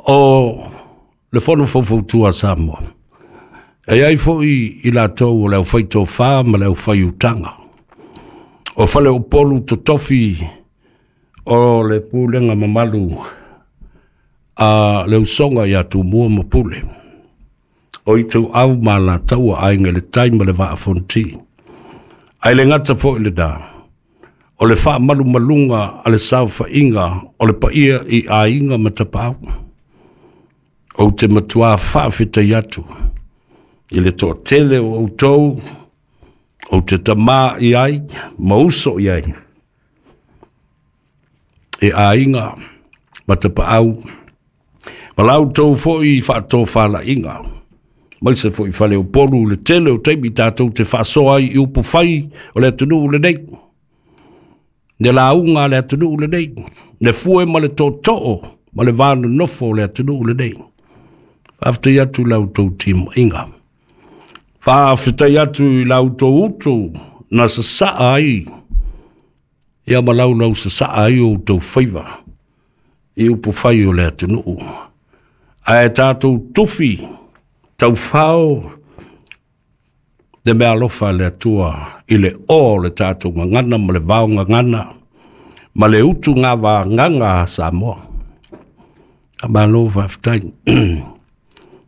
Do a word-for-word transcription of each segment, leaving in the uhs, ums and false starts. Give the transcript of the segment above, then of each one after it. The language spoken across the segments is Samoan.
O le fono faufautua a Samoa, e ai foi i latou o le aufaitofa ma le aufaiutaga. O faleupolu totofi o le pulega mamalu a le usoga ia Tumua ma Pule, o Ituau ma Alataua, Aiga i le Tai ma le Vaa Fonoti. Ae le gata foi lena, o le faamalumaluga a le saofaiga o le paia i aiga ma tapaau. Ou te matua faafetai atu i le toatele o outou ou te tamā i ai ma uso i ai e aiga ma tapaau, ma la outou foi faatofalaiga, mai se foi faleupolu le tele o taimi tatou te faasoa ai i upufai o le atunuu lenei, le lauga a le atunuu lenei, le fue ma le tootoo ma le vanonofo o le atunuu lenei. Faafetai atu i la outou timaiga. Faafetai atu i la outou utu na sasaa ai ia ma laulau sasaa ai o outou faiva i upufai o le atunuu. Ae tatou tufi taufao le meaalofa a le Atua i le o o le tatou gagana ma le vao gagana ma le utugavagaga a Samoa. Malo faafetai.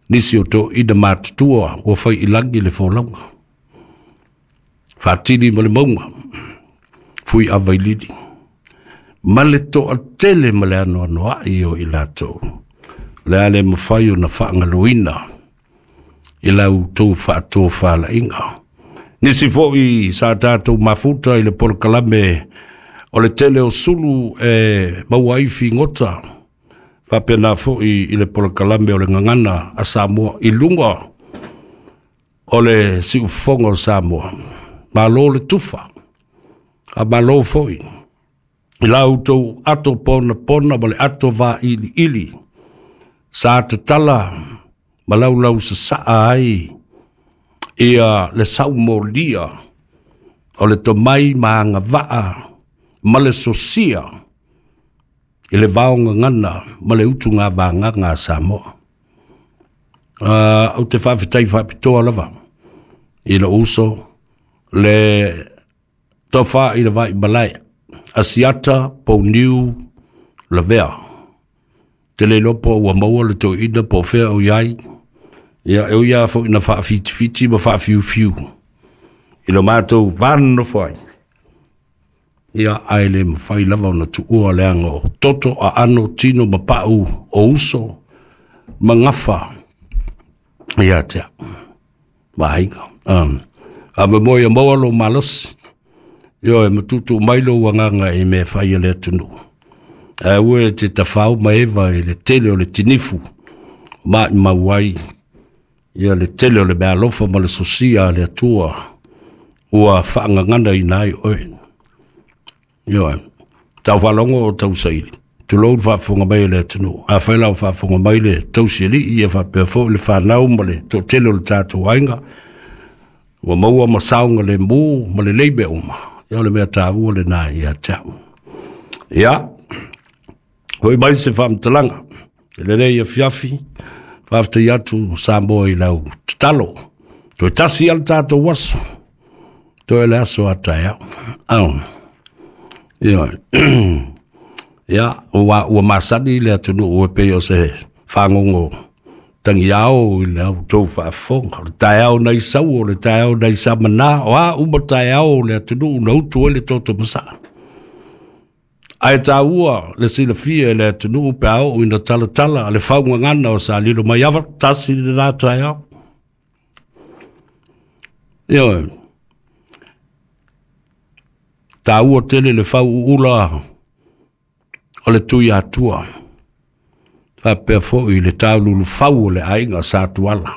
Nisi o toeaiina matutua ua fai i lagi le folauga, faatili ma le mauga, Fuiava i Lili, ma le toatele ma le anoanoai o i latou. O le a le mafai ona faagaloina i la outou faatofalaiga. Nisi foi sa tatou mafuta i le polokalame o le tele o sulu e maua ai figota, faapena foi i le polokalame o le gagana a Samoa i luga o le siufofoga o Samoa. Malo le tufa, a malo foi i la outou ato ponapona ma le ato vailiili sa tatala ma laulau sasaa ai ia le saumolia o le tomai ma agavaa ma le sosia i le vaogagana ma le utugavagaga a Samoa. Uh, ou te faafetai faapitoa lava i lou uso le tofa i le vai malae Asiata Pouniu Lavea. Te le iloa po ua maua le toeaina po o fea o i ai. Ia, e ui lava foi ina faafitifiti ma faafiufiu i lo matou vanonofo ai. Ia, ae le mafai lava ona tuua leaga o toto, aano, tino ma pau o uso ma gafa ia te au ma aiga. Um, a me moe ia maua lou malosi. Ioe, ma tuutuu mai lou agaga i mea fai a le atunuu. Ae aua e te tafao ma eva i le tele o le tinifu o maimau ai ia le tele o le meaalofa ma le sosia a le Atua ua faagaganaina ai oe. Ioe, tau faalogo o tau saili. Tulou le faafofoga mai a le atunuu. Afai la o faafofoga mai le tausialii ia faapea foi le fanau ma le toatele o le tatou aiga, ua maua ma saogalemu ma lelei mea uma. Ia o le mea taua lena ia te au. Ia, foi mai se faamatalaga i lenei afiafi. Faafetai atu Samoa i lau tatalo. Toe tasi lava le tatou aso, toe le aso a taeao. Au. Ioe. Ia, ua, ua masani le atunuu e pei o se fagogo tagiao i le outou faafofoga. O le taeao nai sau, o le taeao nai samana, o a uma taeao o le atunuu na utu ai le toto masaa. Ae taua le silafia e le atunuu pe a oo ina talatala le faugagana o Sa Lilomaiava, tasi lena taeao. Ioe, taua tele le fauuula o le Tuiatua, faapea foi le taululufau o le aiga Sa Tuala.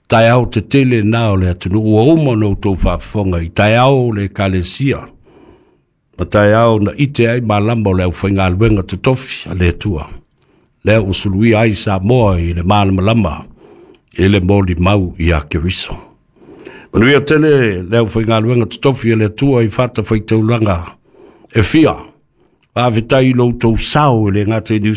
Taeao tetele na o le atunuu ua uma ona outou faafofoga i taeao o le Ekalesia, ma taeao na ite ai malama o le aufaigaluega totofi a le Atua, lea ua suluia ai Samoa i le malamalama i le molimau ia Keriso. Manuia tele le aufaigaluega totofi a le Atua i fatafaitaulaga e fia. Faafetai i lo outou sao e le gata i Niu